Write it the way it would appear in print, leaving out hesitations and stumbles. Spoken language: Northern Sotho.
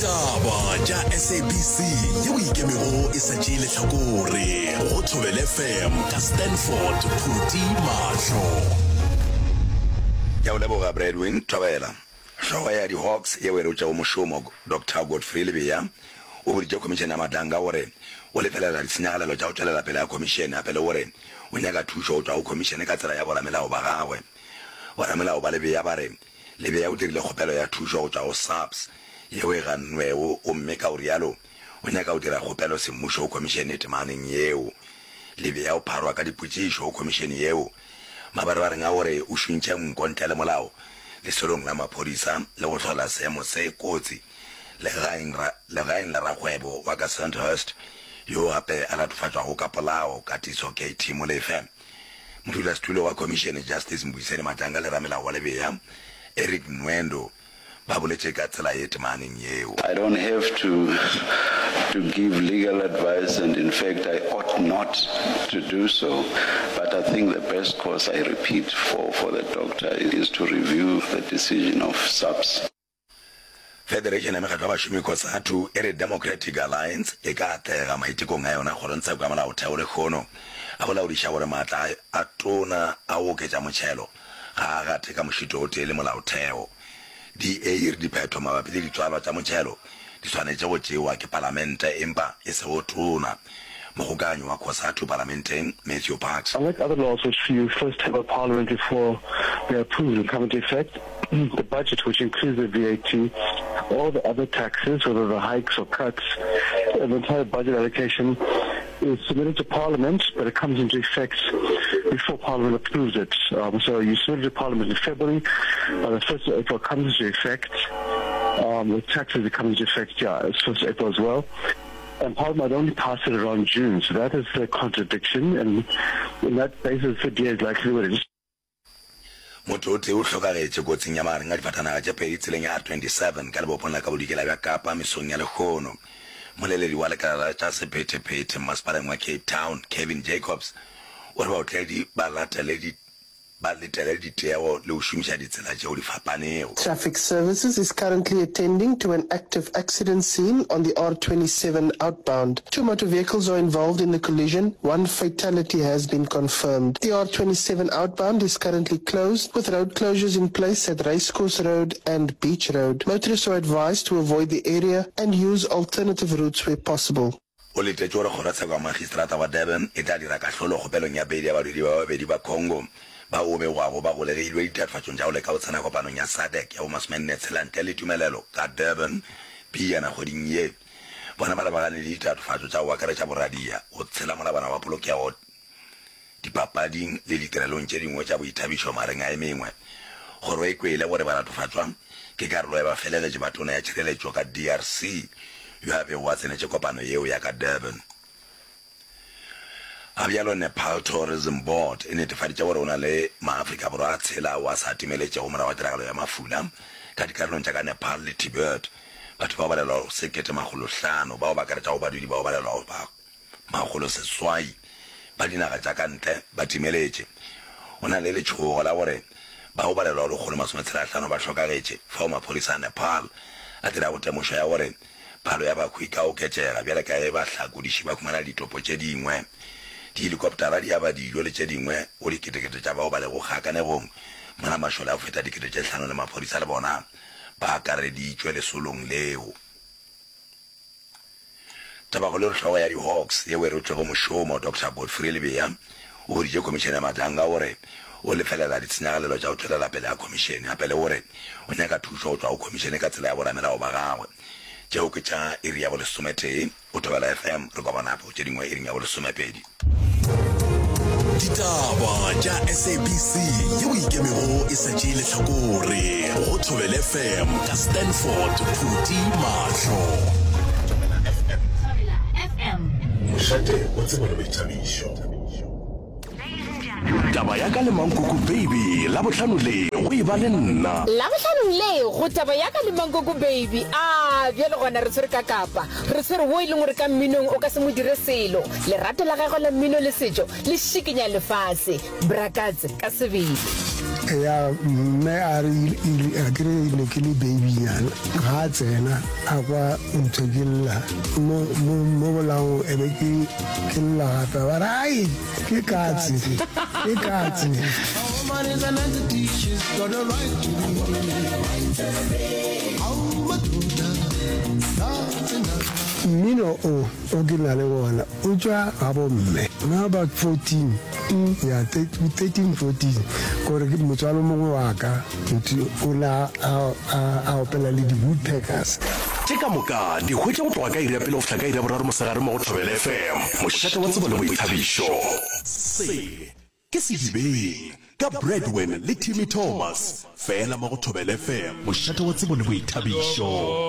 Ditaba tša SABC yeo e ikemego e sa tšee lehlakore go Thobela FM ka Stanford Phuti Mahlo. Ke a o leboga Bradwin Thobela. Hlogo ya di-Hawks yeo e rotšego mošomo, Doctor Godfrey Lebeya, o boditše Khomišene ya Madlanga gore o lefelela ditshenyagalelo tša go tšwelela pele ga khomišene gape le gore o nyaka thušo go tšwa go khomišene ka tsela ya boramelao ba gagwe. Boramelao ba Lebeya ba re Lebeya o dirile kgopelo ya thušo go tšwa go SAPS yeo e gannwego gomme ka go realo o nyaka go dira kgopelo semmušo go khomišene temaneng yeo. Lebeya o pharwa ka dipotšišo go khomišene yeo mabarebareng a gore o šuntše nko ntle le molao lesolong la maphodisa le go hlola seemo se kotsi legaeng legaeng la rakgwebo wa ka Sandhurst yo gape a latofatšwago ka polao, Katiso KT Molefe. Modulasetulo wa khomišene Justice Mbuyiseni Madlanga le ramelao wa Lebea Eric Nwendo ba boletše ka tsela ye temaneng yeo. I don't have to to give legal advice and in fact I ought not to do so but I think the best course I repeat for for the doctor is to review the decision of SAPS. Federation ya Mekgatlo ya Bašomi, Cosatu, e re Democratic Alliance e ka atlega maitekong a yona kgorongtsheko ya molaotheo lehono a go laodiša gore maatla a tona a go oketša motšhelo ga a gate ka mošito o tee le molaotheo. DA e re diphetho mabapi le ditswalwa tša motšhelo di swanetše go tšewa ke palamente empa e sego tona. Mokgokaganyi wa Cosatu palamenteng, Matthew Parks. Unlike other laws which you first have a parliament before they are approved and come into effect, the budget which includes the VAT, all the other taxes, whether the hikes or cuts, the entire budget allocation is submitted to parliament, but it comes into effect before parliament approves it. Um, so you submit it to parliament in February, by the 1st of April it comes into effect. Um, the taxes it comes into effect, yeah, it's 1st of April as well. And Parliament only passed it around June, so that is the contradiction, and in that basis, the DA is likely to just Motho o tee o hlokagetše kotsing ya magareng a difatanaga tše pedi tseleng ya R27 ka lebopong la ka bodikela bja Kapa mesong ya lehono. Moleledi wa lekala la tša sephethephethe mmasepaleng wa Cape Town, Kevin Jacobs, o re baotledi ba latele ba letele ditego le go šomiša ditsela tšeo di fapanego. Traffic Services is currently attending to an active accident scene on the R27 outbound. Two motor vehicles are involved in the collision. One fatality has been confirmed. The R27 outbound is currently closed, with road closures in place at Racecourse Road and Beach Road. Motorists are advised to avoid the area and use alternative routes where possible. O letetše gore kgorotsheko ya Magistrata wa Durban e tla dira kahlolo kgopelong ya beili ya badudi ba babedi ba Congo bao go begwago ba golegilwe ditatofatšong tša go leka go tsena kopanong ya SADC ya bomasomenne tshela ntle le tumelelo ka Durban pejana kgweding ye. Bona ba lebagane le ditatofatšo tša go akaretša boradia, go tshela molawana wa polokego dipapading le ditirelong tše dingwe tša boithabišo magareng a e mengwe. Kgoro e kwele gore balatofatšwa ke karolo ya bafelegetši ba Tona ya Tšhireletšo ka DRC yo a bego a tsenetše kopano yeo ya ka Durban. Ga bjalo Nepal Tourism Board e netefaditše gore o na le maAfrika Borwa a tshela ao a sa timeletšego morago ga tiragalo ya mafula ka dikarolong tša ka Nepal le Tibet. Batho bao balelwago 1500 bao ba akaretšago badudi bao balelwago ba 800 ba dinaga tša ka ntle ba timeletše. O na le letšhogo la gore bao balelwago 165 ba hlokagetše, fao maphodisa a Nepal a dirago temošo ya gore palo ya bahu e ka oketšega bjale ka ge bahlakodiši ba humana ditopo tše dingwe. Dihelikoptara di aba dijo le tše dingwe go diketekete tša bao ba lego kgakanegong, mola mašole a go feta 5000 le maphodisa le bona ba akareditšwe lesolong leo. Tabakgolo e re hlogo ya di-Hawks yeo e rotšwego mošomo, Doctor Godfrey Lebeya, o boditše Khomišene ya Madlanga gore o lefelela ditshenyagalelo tša go tšwelela pele ga khomišene gape le gore o nyaka thušo go tšwa go khomišene ka tsela ya boramelao ba gagwe. Tšeo ke tša iri ya bolesometee go Thobela FM, re kopana gape go tše dingwe iring ya bolesomepedi. Ditaba tša SABC yeo e ikemego e sa tšee lehlakore go Thobela FM ka Stanford Phuti Mahlo. Thobela FM. Thobela FM. Mošate wa tsebo le boithabišo. Taba ya ka le Mankoko Baby Labohlano le go e ba le nna. Labohlanong le go Taba ya ka le Mankoko Baby. A bjale gona re tshwere ka kapa. Re tshwere wo e leng gore ka mminong o ka se mo dire selo. Lerato la gagwe la mmino le setšo le šikinya lefase. Bra Katse ka sebele. Ya mme a re a ke re ne ke le babynyana ga a tsena a kwa ntho ke lla mo mo mo bolaong e be ke ke lla gape ba re ai ke katse ke katse. Mmino o o ke na le wona o tšwa ga bomme na about 14 ya 13 14 kore ke motswalo mongwe wa ka motho o ne a a opela le di-woodpeckers. Tše ka moka di hwetša go tloga ka iri ya pele go fihla ka iri ya boraro mosegare mo go Thobela FM, mošate wa tsebo le boithabišo. Se ke Sedibeng ka Bradwin le Timmy Thomas, fela mo go Thobela FM, mošate wa tsebo le boithabišo.